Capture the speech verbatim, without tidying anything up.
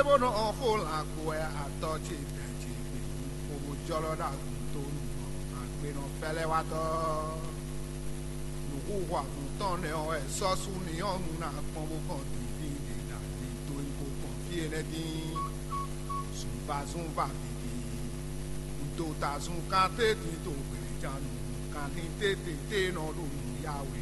bó nɔ ɔn xó lan kpo wɛ atɔ ce dɛ ce gbe xo bó jɔlɔ ɖo agun tó nú mɔ agbenɔ fɛlɛwatɔ. Nǔxuxu avun tɔn nɛ́ ɔ́ wɛ sɔ́ sú ní ɔ́ nu ná kpɔ́n bó kɔn dǐndín ɖě ná dín dó nyí kó kpɔn fí énɛ́ dín. Zunvazunva vǐví, dotazun kan tétín to hwelejanu, kanlin tétété nɔ ɖo nǔ ya we